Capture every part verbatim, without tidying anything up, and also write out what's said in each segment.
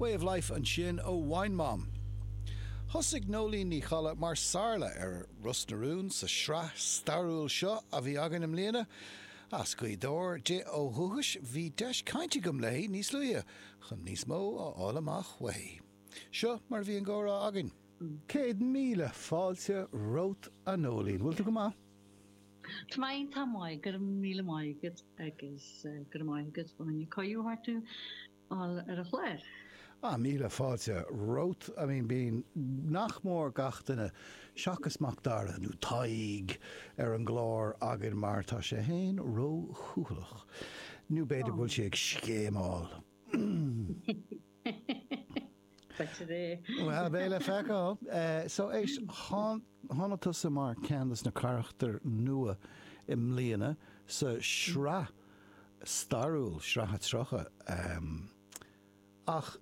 Way of Life ansin ó Wine Mom. Thosaigh Nóilín Ní Cholla mar Saorla ar Ros na Rún sa sraith stairiúil seo a bhí againn i mbliana. As Gaoth Dobhair di ó dhúchas, bhí deis cainte agam léi níos luaithe chun níos mó a fháil amach uaithi. Seo mar a bhí an comhrá againn. Céad míle fáilte romhat, a Nóilín. Bhfuil tú go maith? Tá mé iontach maith, go raibh míle maith agat agus go raibh maith agat fá choinne cuireadh a thabhairt domh ar an chlár. Ah, míle fáilte romhat. I mean, bíonn nach mór gach duine, seachas Mac Dara nó Tadhg, ar an gclár againn mar tá sé féin ró-chúthaileach. Nó b'fhéidir go bhfuil sé ag scéimeáil. B'fhéidir é. Bhuel, beidh le feiceáil. So, éist, tháinig tusa mar ceann de na carachtair nua i mbliana sa sraith stairiúil, sraith a tríocha. Ach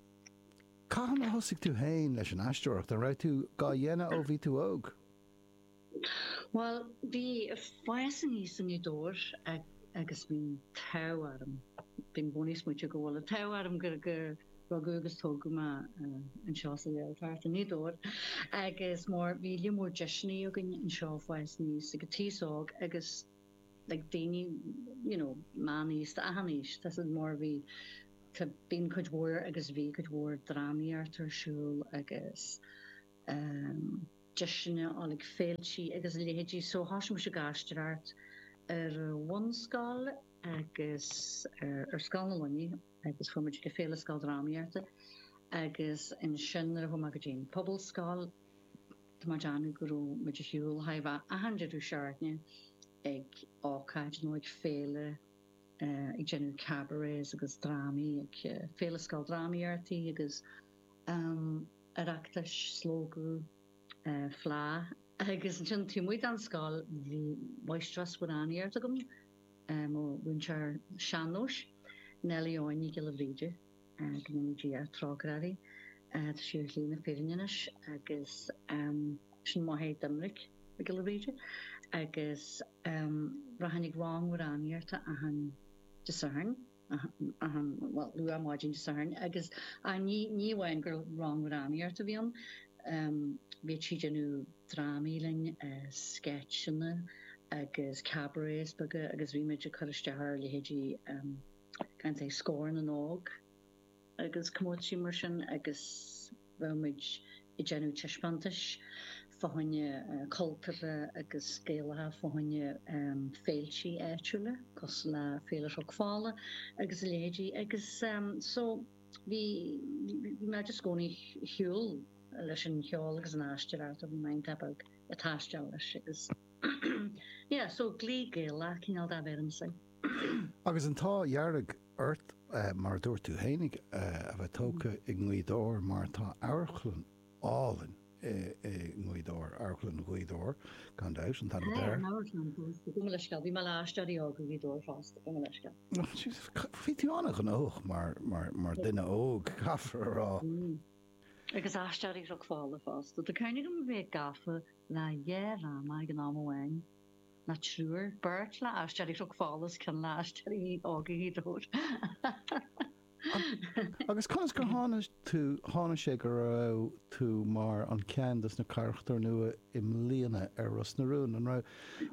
cathain a thosaigh tú féin leis an aisteoireacht? An raibh tú dhá dhéanamh ó bhí tú óg? Bhuel, bhí fás aníos i nGaoth Dobhair agus bhí an t-ádh orm, bím i gcónaí ag smaoitiú go bhfuil an t-ádh orm gur rugadh agus tógadh mé anseo sa Ghaeltacht i nGaoth Dobhair agus mar bhí líon mór deiseanna againn anseo fás aníos ag an t-aos óg agus like daoine you know meánaosta achan aois tá siad mar bhí tá bíonn cuid mhór agus bhí cuid mhór drámaíocht ar siúl agus ehm deiseanna á like féiltí agus a leithéidí so thosaigh mise ag aisteoireacht ar an bhunscoil agus ar ar Scoil na Luiní agus chuaigh muid go Féile Scoil Drámaíochta agus ansin nuair a chuaigh mé go dtí an Pobalscoil Tá mé ag déanamh go raibh muid ar shiúl chóir a bheith achan deireadh seachtaine ag ócáid nó ag féile ag déanamh cabarets agus drámaí ag Féile Scoil Drámaíochta agus Oireachtais, Slógadh, Fleadh agus ansin taobh amuigh den scoil bhí máistreás amhránaíochta agam, mo mhúinteoir sean-nóis, Nellie Eoin Ní Ghiolla Bhríde. Go ndéana Dia trócaire uirthi. Tá sí ar shlí na fírinne anois agus sin máthair Doimnic Mhic Giolla Bhríde agus rachainn ag rang amhránaíochta achan Dé Sathairn, achan, bhuel, luath maidin Dé Sathairn agus ní ní amháin gur rang amhránaíochta a bhí ann, bhíodh sí ag déanamh drámaí linn, sceitseanna agus cabarets beaga agus bhí muid ag cur isteach ar leithéidí gan é Scór na nÓg agus comórtaisí mar sin agus bheadh muid ag déanamh taispeántais fá choinne cultúrtha agus Gaelacha fá choinne féiltí áitiúla cosúil le Féile Chnoc Fola agus a leithéidí agus so bhí bhí mé just i gcónaí ar shiúl leis an cheol agus an aisteoireacht ó bhí mé iontach beag ag taisteal leis agus yeah so Glee Gaelach cineál de bheirimse. Agus an t-ádh dhearg ort, mar a dúirt tú fhéinig, a bheith tógtha i nGaoth Dobhair mar tá amharclann álainn i nGaoth Dobhair, Amharclann Ghaoth Dobhair, gan dabht, an t-ainm atá air. Tá an amharclann fosta, gabh mo leithscéal, bhí mé le Aisteoirí Óga Ghaoth Dobhair fosta, gabh mo leithscéal. Bhí tú an-ghnóthach mar duine óg, caithfear a rá. Agus Aisteoirí Chnoc Fola fosta. Tá cuimhne agam a bheith gafa le dhá dhráma ag an am amháin. Nó triúr, beirt le Aisteoirí Chnoc Fola is ceann le Aisteoirí Óga Ghaoth Dobhair. Agus conas gur tháinig tú, tháinig sé go raibh tú mar an ceann dos na carachtair nua i mbliana ar Ros na Rún? An raibh,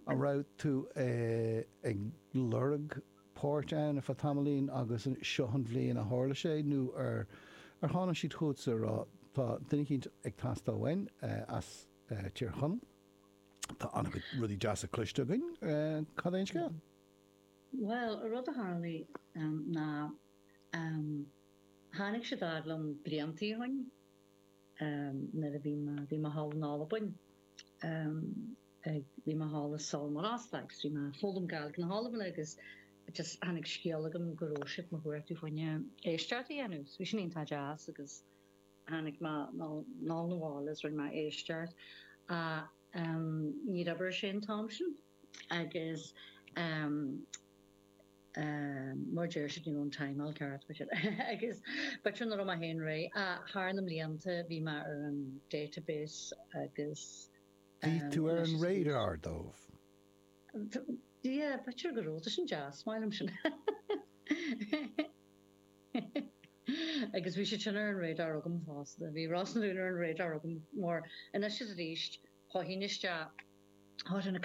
an raibh tú ag lorg páirt ann ar feadh tamaillín agus seo an bhliain a tharla sé nó ar, ar tháinig siad chugatsa a rá tá duine eicínt ag teastáil uainn as Tír Chonaill? Tá an-chuid rudaí deasa cloiste againn. Cad é an scéal? Bhuel, an rud a tharlaigh ná tháinig siad fhad liom bliantaí ó shin nuair a bhí mé, bhí mé thall in Albain, bhí mé thall i Sabhal Mòr Ostaig agus bhí mé ag foghlaim Gaeilge na hAlban agus just tháinig scéal agam go raibh siad mo chuartú fá choinne éisteacht a dhéanamh. So bhí sin iontach deas agus Tháinig mé anall 'na bhaile is rinne mé éisteacht ach níor oibir sé an t-am sin agus mar a deir siad ní raibh an timeáil ceart b'fhéidir agus b'fhéidir nach raibh mé féin réidh ach thar na mblianta bhí mé ar an database agus Bhí tú ar an radar dóibh. Yeah, b'fhéidir go raibh, tá sin deas, maith liom sin. Agus bhí sé sin ar an radar agam fosta, bhí Ros na Rún ar an radar agam mar anois is arís tháinig isteach tháinig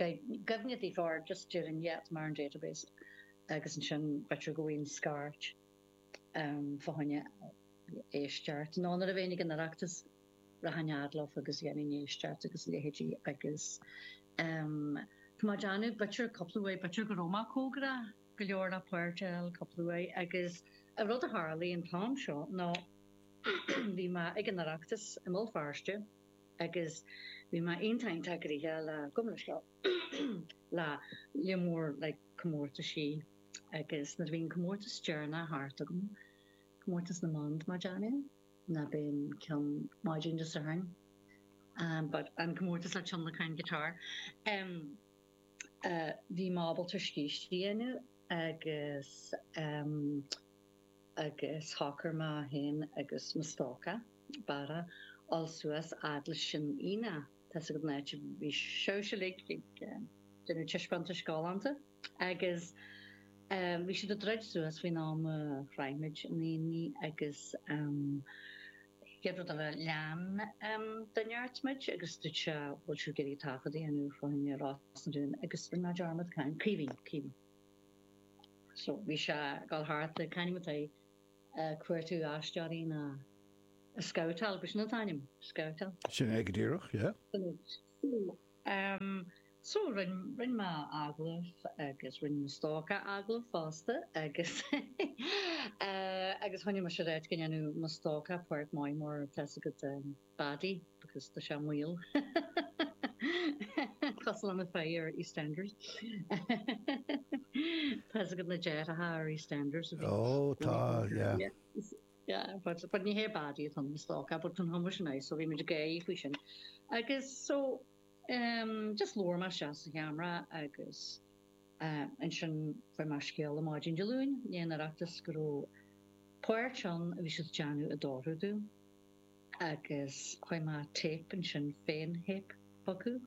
cuimhne daofa just déarfainn yeah mar an database agus ansin b'fhéidir go bhfuil scairt um, fá choinne éisteacht. Nó nuair a bheinn ag an Oireachtas rachainn fhad leo agus dhéanfainn éisteacht agus leithéidí agus um, Tá mé ag déanamh b'fhéidir cúpla uair b'fhéidir go raibh mé cóngarach go leor le páirt a fháil cúpla uair agus an rud a tharlaigh an t-am seo ná bhí mé ag an Oireachtas i mBéal Feirste agus bhí mé iontach iontach gnoitheach le gabh mo leithscéal le le mór le comórtaisí agus nuair a bhí an comórtas deireanach thart agam comórtas na mban mar déanamh ná bíonn ceann maidin Dé Sathairn um, but an comórtas le tionlacan guitar um, uh, bhí mé ábalta scíste a dhéanamh agus um, agus shocair mé féin agus mo stócach Barra dul suas fhad leis an Aonach tá go náit bhí sibhse ag déanamh taispeántais galánta agus um, bhí siad ag druid suas faoin am a shroich muid an Aonach agus um, chéad rud eile lean um, duine ort muid agus dúirt sé bhfuil sibh ag iarraidh taifead a dhéanamh fá choinne Ros na Rún agus rinne mé dearmad cén Caoimhín Caoimhín. So bhí sé ag dul thart le ceann ag cuartú aisteoirí ná scabhtáil b'shin an t-ainm scabhtáil. Sin é go díreach, yeah. Um, so rinne rinne mé agallamh agus rinne mo stócach agallamh fosta agus uh, agus choinnigh mé sé go ndéanadh mo stócach páirt maith mar tá go um, baddie because tá sé maol. Cosúil le fé ar EastEnders. Tá go na deartháireacha ar EastEnders. Oh, tá, yeah. Yeah. Yeah, but, but ní hé baddie atá mo stócach, but an hummer sin so bhí muid gay faoi sin. Agus so um, just labhair mé isteach sa cheamara agus uh, ansin fuair mé scéal an maidin Dé Luain, ní an Oireachtas go raibh páirt ann a bhí siad déanamh i dtoradh dom agus chuir mé tape ansin féin thape chucu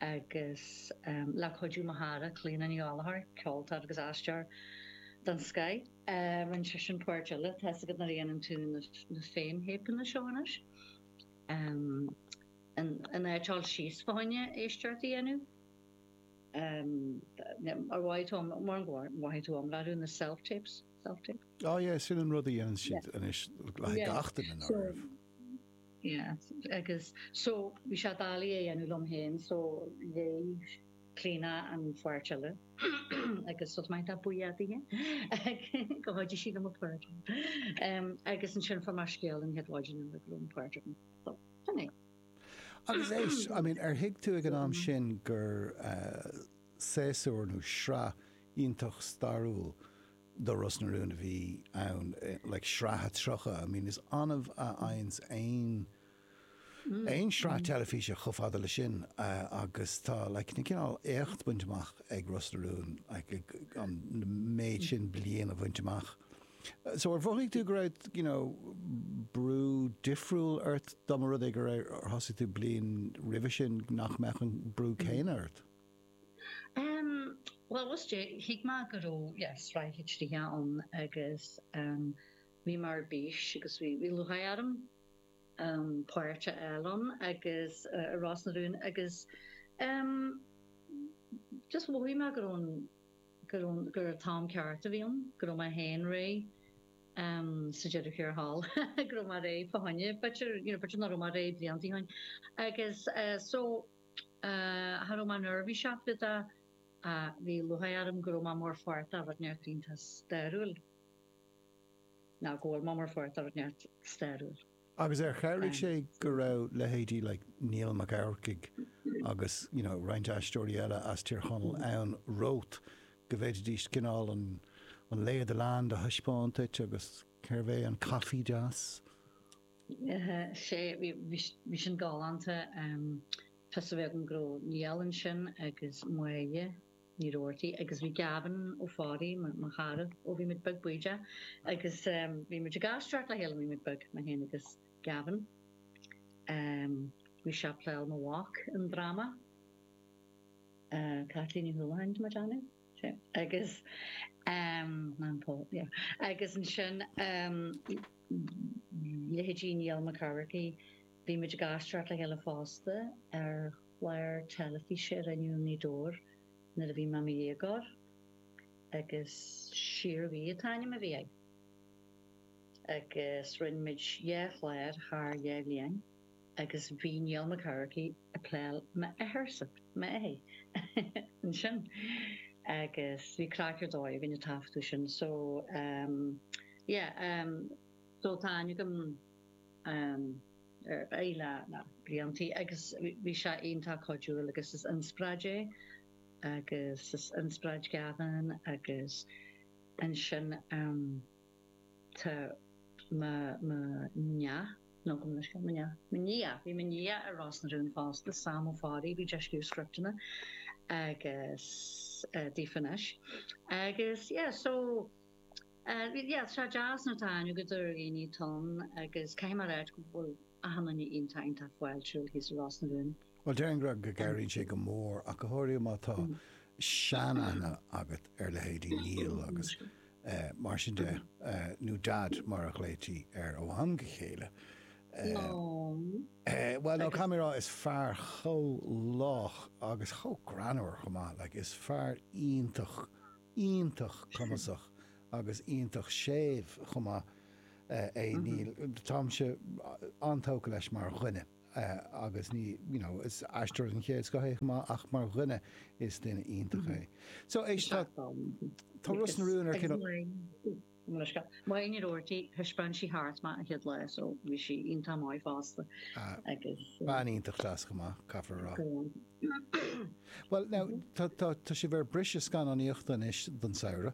agus um, le cuidiú mo chara Clíona Ní Ghallchóir, ceoltóir agus aisteoir den scoth. Uh, rinne sé sin páirt eile tá go na dhéanann tú na, na féin thapeanna seo anois. Um, an an áiteáil síos fá choinne éisteacht a dhéanamh. Um, ar mhaith tú mar mhaith tú amlú na self-tapes self-tape. Oh yeah, sin an rud a dhéanann siad anois le Yeah. gach duine So- áirithe. Yeah, agus so bhí sé doiligh a dhéanamh liom féin so léigh Clíona an pháirt eile agus so maith buíoch di go chuidigh sí liom páirt. Um, agus ansin fuair mé scéal an chéad mhaidin go raibh an páirt agam. So, sin é. Agus éist, I mean, ar thuig tú ag an am sin gur uh, séasúr nó sraith iontach stairiúil do Ros na Rún a bhí ann, eh, like sraith a tríocha. I mean, is annamh a fhaigheanns aon aon sraith teilifíse chomh fada le sin uh, agus tá like, na cineál éacht bainte amach ag Ros na Rún like, ag- an méid sin bliain a bhaint amach. Uh, So ar mhothaigh tú go raibh you know, brú difriúil ort dá mba rud é go raibh ar thosaigh tú bliain roimhe sin nach mbeadh an brú céanna ort. Um, well, was dé thuig mé go raibh yes, sraith tríocha ann agus um, bhí mar bís agus bhí bhí lúcháir orm um, páirt a fháil ann agus uh, Ros na Rún agus um, just mhothaigh mé go raibh an- go raibh gur an t-am ceart a bhí ann, go raibh mé féin réidh um, sa deireadh thiar thall go raibh mé réidh fá choinne, b'fhéidir you know, b'fhéidir nach raibh mé réidh blianta ó shin. Agus uh, so uh, cha raibh mé neirbhíseach faoi uh, bhí lúcháir orm go raibh mé mar pháirt de rud neart iontach stairiúil. Ná go bhfuil mé mar pháirt de rud neart stairiúil. Agus ar chabhraigh Um, sé go raibh leithéidí like Niall Mac Eachmharcaigh agus you know, roinnt aisteoirí eile as Tír Chonaill ann romhat go bhféadfaidís cineál an an lay of the land a thaispeáint duit agus cérbh é an caife deas. Uh, sé bhí bhí sin galánta um, Fios a bheith an go raibh Niall ansin agus Máire Ní Roarty agus bhí Gavin Ó Fearraigh mo chara ó bhí muid beag bídeach agus um, bhí muid ag aisteoireacht le chéile bhí muid beag mé féin agus Gavin. Um, bhí sé ag playáil mo mhac an drama. Uh, Kathleen Ní Houlihan mar Johnny. Agus um, ná Paul, yeah. Agus ansin um, Leithéidí Niall Mac Eamharcaigh, bhí muid ag aisteoireacht le chéile fosta ar chlár teilifíse a rinneadh i nGaoth Dobhair nuair a bhí mé i mo dhéagóir agus Síorbhuí an t-ainm a bhí air. Agus rinne muid dhá chlár thar dhá bhliain agus bhí Niall Mac Eamharcaigh ag playáil m'athairsa, m'athair, ansin. Agus bhí craic ar dóigh againn ag taifeadadh sin so um yeah um so tá aithne agam um ar air le le bliantaí agus bhí sé iontach cuidiúil agus is inspioráid é agus is inspioráid Gavin agus ansin um tá mo mo nia nó go mo nia mo nia bhí mo nia ar Ros na Rún fosta Sam Ó Fearraigh bhí sé ag scríobh scripteanna agus uh, daofa anois agus yeah so uh, yeah tá deas nuair atá aithne agat ar dhaoine ann agus caithfidh mé a rá go bhfuil achan duine iontach iontach fáiltiúil thíos i Ros na Rún. Well déarfainn go go gcabhraíonn sé go mór ach go háirithe má tá seanaithne agat ar leithéidí Neil agus uh, mar sin de uh, nó Dad mar a ghlaoití air ó am go chéile. No. Uh, well no camera is fear chomh lách agus chomh greannmhar chomh maith, like, is fear iontach iontach cumasach agus iontach séimh chomh maith uh, é Neil Táimse an-tógtha leis mar dhuine. Uh, agus ní you know, is aisteoir den chéad scoth é chomh maith ach mar dhuine is duine iontach é. So éist tá tá Ros na Rún ar cineál Máine Doherty thaispeáin sí thart mé an chéad lá so bhí sí iontach maith fosta agus Bean iontach deas chomh maith caithfear a rá. Well now tá tá tá sibh ar briseadh scannánaíochta anois don samhradh.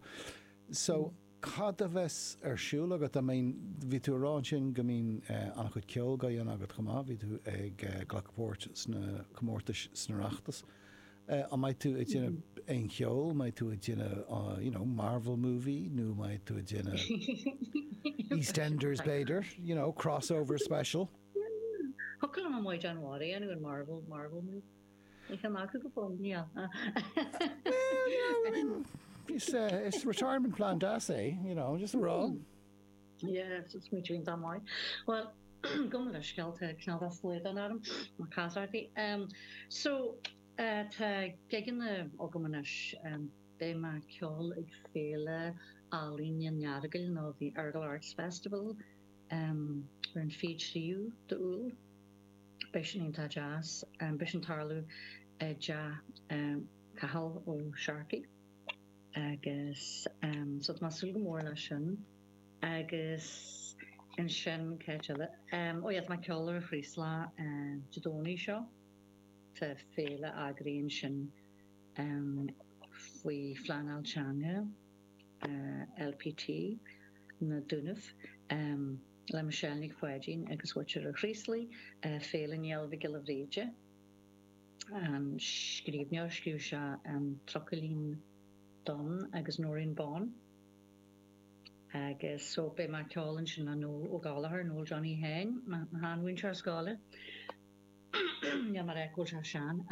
So cad a bheas ar siúl agat I mean bhí tú ag rá ansin go mbíonn uh, an-chuid ceoil á dhéanamh agat chomh maith, bhí tú ag uh, glacadh páirt sna comórtais sna Oireachtas. Uh, an mbeidh tú ag déanamh aon cheol, mbeidh tú ag déanamh uh, you know, Marvel movie nó mbeidh tú ag déanamh EastEnders b'fhéidir, you know, crossover special. Thiocfadh liom an Maighdean Mhara a dhéanamh an Marvel Marvel movie. Ní cheann acu go fóill ní. Well, you know, I mean, it's, uh, it's retirement plan deas é, you know, just a rá. Yeah, it's me doing that maith. Well, gabh mo leithscéal tá cineál slaghdán orm mar casartaí. Um, so uh, tá gigeanna agam anois um, beidh mé ag ceol ag Féile Ealaíon an Earagail nó the Errigal Arts Festival um, ar an fiche tríú d'Iúil. Beidh sin iontach deas, um, beidh sin tarlú i dteach um, Cathal Ó Searcaigh agus um, so tá mé ag súil go mór leis sin agus ansin cad eile. Um, ó yeah, tá mé ag ceol ar Chraoslach uh, Dé Domhnaigh seo Tá féile eagraíonn sin um, faoi phleanáil teanga uh, LPT na Dúnaibh um, le Michelle Nic Pháidín agus Mhuintir an Chraoslaigh uh, Féile Néill Mhic Giolla Bhríde. An scríbhneoir scríobh sé an Trucailín Donn agus Nóirín Bán. Agus so beidh mé ag ceol ansin le Noel Ó Gallchóir, Noel Johnny Sheáin, sheanmhúinteoir scoile. Ja mar go sé sean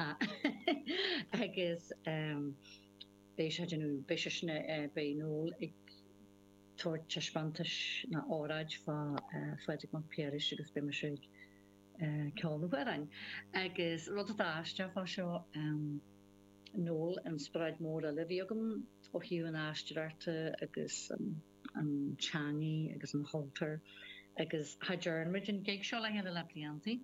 agus um, beidh sé beidh sé sin beidh Noel ag tabhairt taispeántais na óráid fá Phádraig Mac Piarais agus beidh mise ag ceol na hamhráin. Agus rud atá aisteach fá seo um, Noel inspioráid mór eile a bhí agam ó thaobh an aisteoireachta agus an, an teanga agus an chultúr agus cha dtearn muid an gig seo le chéile le bliantaí.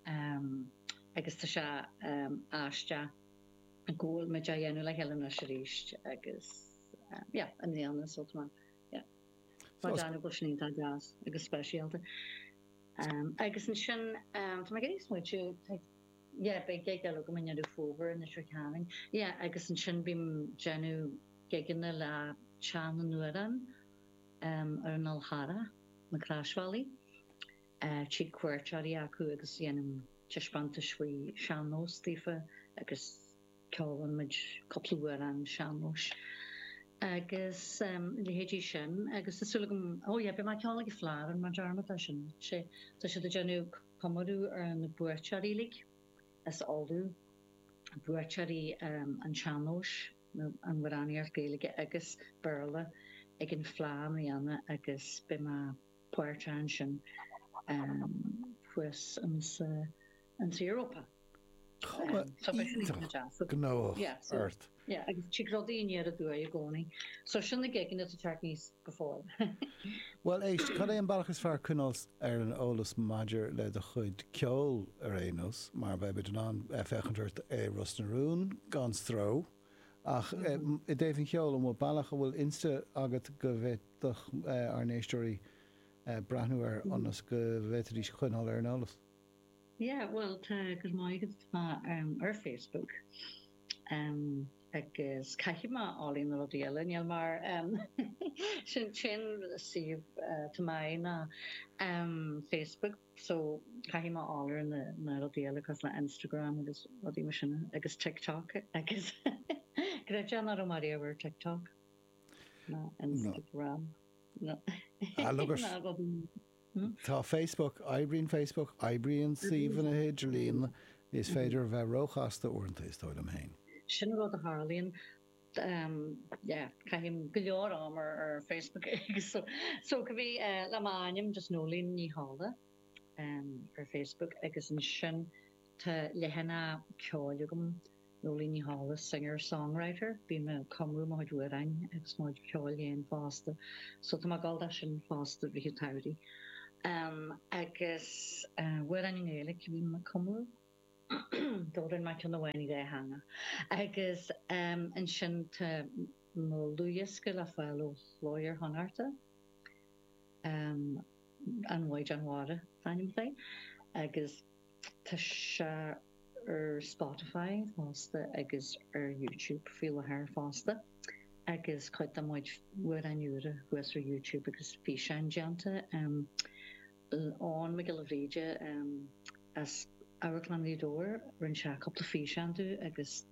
Um, agus tá sé um, aisteach go bhfuil muid á dhéanamh le chéile anois arís agus um, yeah, an mbliana so tá yeah. So Mar go bhfuil sin iontach deas agus speisialta. Um, agus ansin um, tá mé ag smaointiú yeah, beidh gig eile agam i nDeireadh Fómhair in Leitir Ceanainn. Yeah, agus ansin bím ag déanamh gigeanna le Teach na nAmhrán um, ar an Fhál Charrach, na Croisbhealaí. Uh, tigh cuairteoirí acu agus dhéanaim taispeántais faoi sean-nós daofa agus ceolann muid cúpla amhrán sean-nóis. Agus um, leithéidí sin agus tá súil agam ó yeah, beidh mé ag ceol ag Fleadh mar dearmad leis sin. Sé tá siad ag déanamh comóradh ar na buaiteoirí uilig as Uladh buaiteoirí um, an tsean-nóis nó an amhránaíocht Gaeilge agus Béarla ag an Fleadh i mbliana agus beidh mé páirteach ansin thuas insa insa Europa. Cuma iontach gnóthach ort. Yeah, agus tig rudaí aniar aduaidh i gcónaí. So sin na gigeanna atá ag teacht aníos go fóill. Bhuel éist, cad é an bealach is fearr coinneáil ar an eolas maidir le do chuid ceoil ar aon nós, mar beidh muid in ann féachaint ort i Ros na Rún gan stró, ach i dtaobh an cheoil, an bhfuil bealach, an bhfuil Insta agat go bhféadfadh ár n-éisteoirí breathnú air ionas go bhféadfaidís coinneáil ar an eolas? Yeah, bhuel, tá, go raibh maith agat, tá mé ar Facebook agus caithfidh mé fháil ar na rudaí eile, níl mar sin sin suíomh tá mé ná Facebook so caithfidh mé fháil ar na na rudaí eile cosúil le Instagram agus rudaí mar sin agus TikTok agus creid é nach raibh mé riamh ar TikTok ná Instagram ná Ah, look at ná rudaí Tá Facebook, oibríonn Facebook, oibríonn suíomhanna idirlín, is féidir a bheith róchasta uaireanta, is dóigh liom féin. Sin rud a tharlaíonn. Yeah, caithim go leor am ar ar Facebook agus so so go bhí le m'ainm just Noeleen Ní Dhálaigh ar Facebook agus ansin tá leathanach ceoil agam Noeleen Ní Dhálaigh, singer songwriter. Bím ag cumadh mo chuid amhráin agus mo chuid ceoil féin fosta. So tá mé ag dul dó sin fosta i rith an tsamhraidh. Agus amhráin i nGaeilge a bhím ag cumadh. D'amhráin mé ceann amháin i dhá theanga. Agus ansin tá mo dhlúthdhiosca le fáil ó Chló Iar-Chonnachta, An Mhaighdean Mhara is ainm dó. Agus tá sé ar Spotify fosta agus ar YouTube faoi láthair fosta agus cuid de mo chuid amhráin úra thuas ar YouTube agus físeáin déanta. Eoin Mac Giolla Bhríde as Amharclann Ghaoth Dobhair, rinne sé cúpla físeán domh agus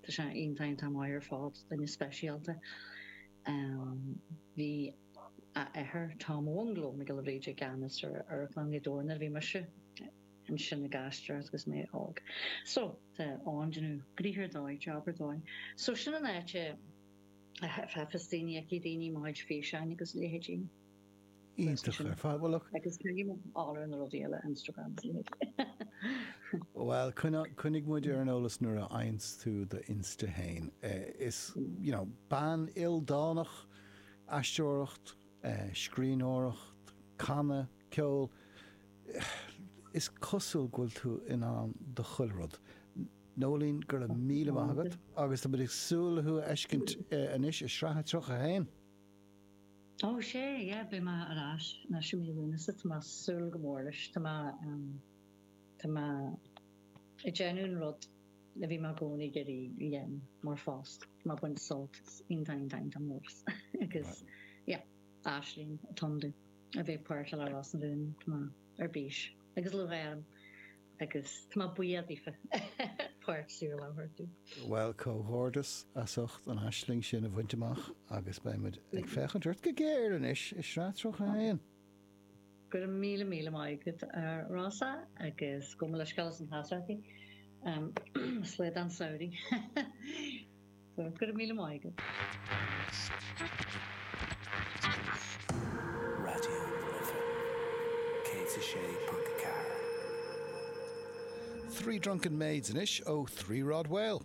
tá sé iontach iontach maith ar fad, duine speisialta. Bhí a athair Tom Bhungalo Mac Giolla Bhríde i gceannas ar Amharclann Ghaoth Dobhair nuair a bhí mise ansin ag aisteoireacht agus mé óg. So, tá Eoin ag déanamh gnoithe ar dóigh, job ar dóigh. So, sin an áit a bhfeicfeas daoine, fheicfidh daoine mo chuid físeáin agus leithéidí. Iontach ar fad. Bhuel, look. Agus caithfidh mé fháil ar na rudaí eile, Instagram agus leithéidí. Bhuel, coinnigh muid ar an eolas nuair a fhaigheanns tú do Insta fhéin. Is, you know, bean ildánach, aisteoireacht, scríbhneoireacht, canadh, ceol, is cosúil go bhfuil tú in ann do chuile rud. Noeleen, go raibh míle maith agat agus tá muid ag súil le thú a fheiscint anois i Sraith a tríocha a haon. Ó sea, yeah, beidh mé ar ais anois i mí Lúnasa, tá mé ag súil go mór leis, tá mé, tá mé ag déanamh an rud a bhí mé i gcónaí ag iarraidh a dhéanamh mar phost, tá mé ag baint sult as, iontach, iontach, iontach mór as agus yeah, aisling atá ann domh a bheith páirteach le Ros na Rún, tá mé ar bís agus lúcháir orm agus tá mé buíoch daofa páirt saoil a thabhairt domh. Bhuel, comhghairdeas as ucht an aisling sin a bhaint amach agus beidh muid ag féachaint ort go géar anois i Sraith tríocha a haon. Go raibh míle míle maith agat a Rossa agus gabh mo leithscéal as an teasarthaí. Slaghdán samhraidh. Go raibh míle maith agat. Raidió na Life céad a sé ponc a ceathair. Three Drunken Maids anois ó Three Rod Whale.